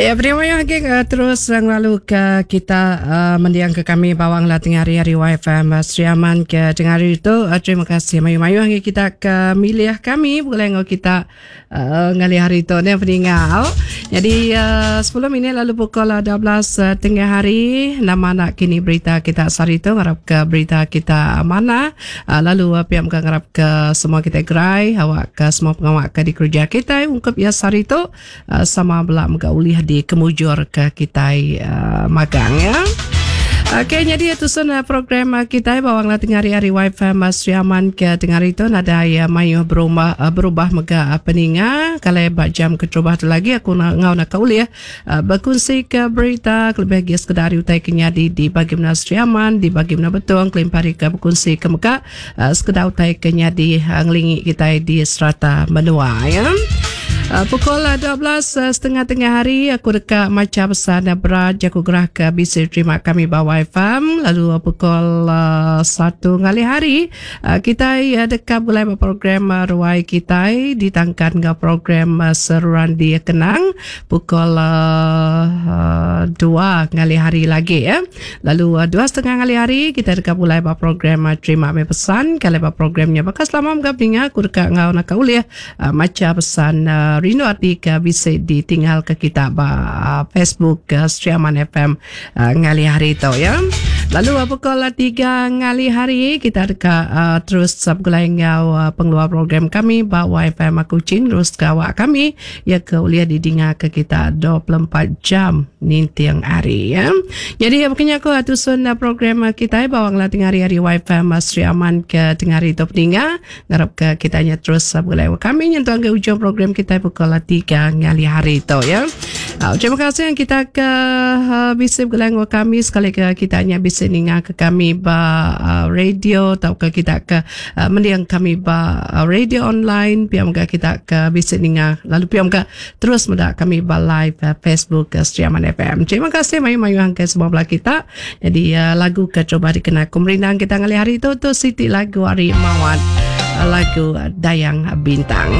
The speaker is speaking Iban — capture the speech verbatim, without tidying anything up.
Ya, terima kasih uh, terus ngelalu ke kita uh, mendiang ke kami bawang lah tengah hari hari Y F M uh, Sri Aman ke tengah hari itu. Uh, terima kasih mayu-mayu hari kita ke milih kami boleh ngau kita uh, ngali hari itu ni peninggal. Jadi uh, sepuluh minit lalu pukul dua belas uh, tengah hari nama nak kini berita kita sehari itu ngarap ke berita kita mana uh, lalu uh, pihak muka ngarap ke semua kita gerai awak ke semua pengawak ke di kerja kita ungkap ya sehari itu uh, sama belak muka ulih di kemujur ke kita uh, magang ya. Okey, jadi itu sudah program kita bawang lah tengah hari Y F M Sri Aman ke tengah hari itu nada ya mayu berubah berubah mega peninga kalau bak jam keterubah tu lagi aku nak ngau nak kaul ya berkongsi ke berita lebih lagi sekedar utai kenyadi di bagi mana Sri Aman di bagi mana Betong kelimpari ke berkongsi ke mega sekedar utai kenyadi ngelingi kita di serata menua ya. Uh, pukul dua belas setengah tengah hari aku dekat maca pesan berat jaku gerah ke B C terima kami bawa F M lalu uh, pukul uh, satu ngali hari uh, kita uh, dekat mulai program uh, ruai kita ditangkan ke program uh, seruan di Kenang pukul uh, uh, dua ngali hari lagi ya. Lalu uh, dua setengah ngali hari kita dekat mulai program uh, terima kami pesan kalau programnya bakal selama menggabungnya aku dekat ngau nak kauliah uh, maca pesan uh, Rino arti ke bisa ditinggal ke kita ba Facebook ke Sri Aman F M uh, ngali hari itu ya. Lalu pukul tiga ngali hari kita dekat uh, terus subgulai ngau uh, pengeluar program kami ba Y F M Kuching terus kawak kami ya ke ulia didinga ke kita dua puluh empat jam nintiang hari ya. Jadi makanya aku atusun program kita bawang lah tengah hari-hari Y F M Sri Aman ke tengah hari itu peninga ngarap ke kitanya terus subgulai kami nyentuh ke ujung program kita pukul tiga ngali hari itu ya. Uh, terima kasih yang kita ke uh, bisa bergulai kami sekali ke kita hanya bisa ninga ke kami ba uh, radio atau ke kita ke uh, mendiang kami ba uh, radio online piam ke kita ke bisa ninga lalu piam ke terus mendak kami ba live uh, Facebook ke Sri Aman F M. Terima kasih mayu-mayu hangkai semua belah kita. Jadi uh, lagu ke coba dikena kumerindang kita ngali hari itu tu Siti lagu Ari Mawat lagu Dayang Bintang.